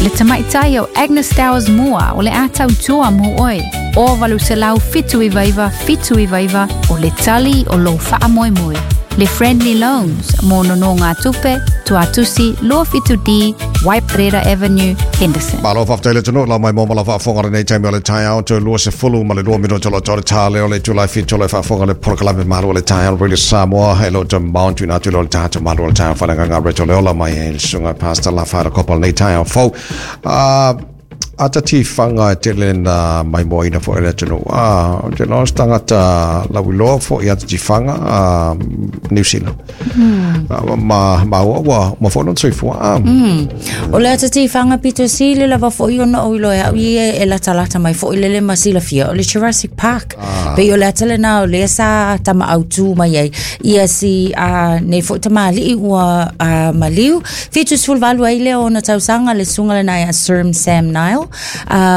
Le tamaitai o Agnes Towers Moore o le a tautua mo oe. O 879 79 o le tali o lou faamoemoe. Le Friendly Loans mo nonōga tupe, Tuatusi 27D, Waiparera Avenue, Henderson. Malo faafetai le atunuu lau mai mo ma lau faafofoga lenei taimi o le taeao toe 22 minute o lo toe ta leo le itula e 7 o le faafofoga le polokalame malu o le taeao Radio Samoa e lo toe mount tuina atu le tatou malu o le taeao faaleagaga Reto Leola mai e le susuga Pastor Lafaela Kopa lenei taeao fou. Ata tifaga e tele na maimoaina foi e le atunuu. Ah, ou te iloa o se tagata lauiloa foi i ata tifaga a Niu Sila. Ma maua ua uma foi lona soifua. Ah. O le ata tifaga pito sili lava foi ona ou iloa e au ia e latalata mai foi lele ma silafia o le Jurassic Park. Ah. Pei o le ata lena o lea sa tamaautu mai ai ia si nei foi tamalii ua maliu. 78 ai lea o ona tausaga le susuga lena ia Sir Sam Neill.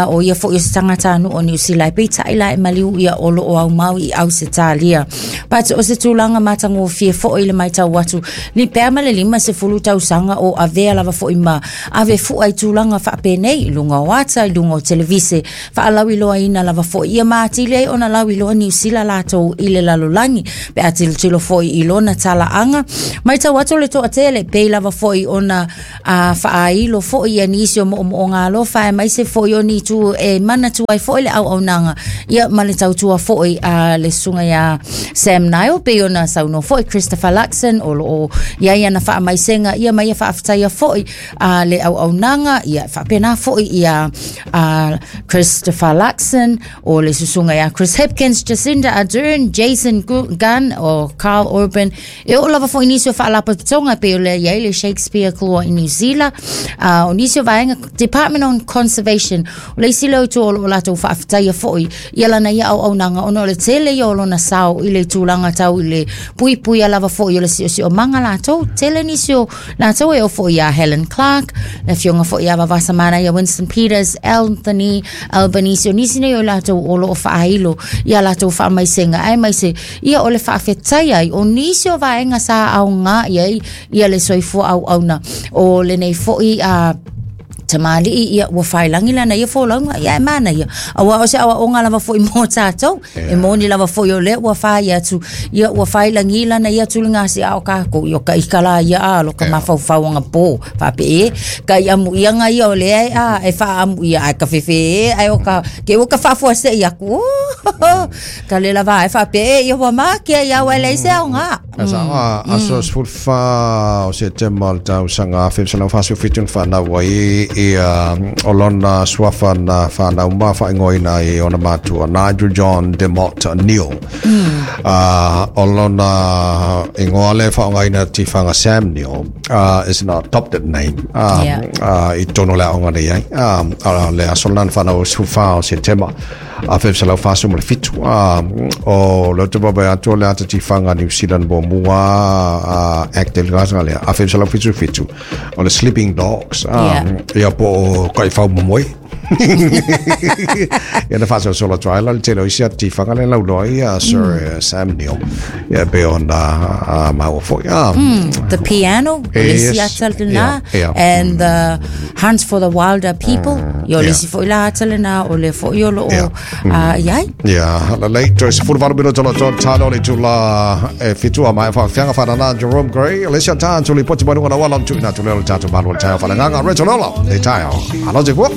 O ia foi o se tagatanuu o Niu Sila e peitai la e maliu ia o loo aumau i Ausetalia. But o se tulaga matagofie foi le maitau atu ni pea ma le 50 tausaga o avea lava foi ma ave fua i tulaga faapenei i luga o ata i luga o televise faalauiloaina lava foi ia ma atili ai ona lauiloa Niu Sila latou i le lalolagi pe a tilotilo foi i lona talaaga maitau atu le toatele pei lava foi ona a faailo foi ia nisi o moomooga alofa aemaise foi o ni itu e manatua ai foi le auaunaga ia ma le tautua foi a le susuga iā Sam Neill pei ona saunoa foi Christopher Luxon o loo iai ana faamaisega ia ma ia faafetaia foi a le auaunaga ia faapena foi ia a Christopher Luxon o le susuga ia Chris Hipkins, Jacinda Ardern, Jason Gunn o Carl Urban e oo lava foi nisi o faalapotopotoga pei o lea i ai le Shakespeare Claw i New Zealand o nisi o vaega Department on Conservation o le isi lea itu o loo latou faafetaia foi ia lana ia auaunaga ona o le tele ia o lona sao i le tulaga tau i le puipuia lava foi o le siosiomaga latou tele nisi o latou e oo foi ia Helen Clark, le afioga foi ia Vavasa Manaia Winston Peters, Anthony Albanese, o nisi nei o latou o loo faailo ia latou faamaisega aemaise ia o le faafetai ai o nisi o vaega sa aoga i ai ia le soifua auauna o lenei foi a tamalii ia ua failangi lana ia folauga ia e manaia auā o se aoaoga lava foi mo tatou e moni lava foi o lea ua fai atu ia ua failagi lana ia tuligasi'a o kākou ia o ka ika la ia a lo ka mafaufau agapō faapea e ka i amuiaga ia o lea e a e faaamuia ae ka fefe e ae o ka ke ua ka faafuase'i aku ka le lava e faapea e ia ua makea ia au e leai se aoga. A sa a aso 14 o Setema o le tausaga 1947 na whanau ai ia o lona suafa na whanau ma whaingoina i ona matua Nigel John DeMott Neil. O lona ingoa le whaongaina tiwhanga Sam Neill is an adopted name i tonu le aonga nei ai. Le aso lana whanau 14 o Setema 1947 o le te wawe atu o le ata tiwhanga New Zealand mo mua Act e le lea 1977 o le Sleeping Dogs ia po o kaiwhau momoe ia na whaasosolo atu ai la le tele o isi ata tiwhanga le lauloa ia Sir Sam Neill ia pe ona maua foi The piano o le isi ata lena and the Hunt for the Wilder People ia o le isi foi la ata lena o le foi o loo i ai. Ia, lelei, toe 18 minute o lo talo le tula e fitua mai whaawhianga whanana Jerome Gray, le sia tā tuli poti mai runga na wala tu ina tu leo le tātou malu le taio whananganga, Reto Lola, le taio. Alo te fua.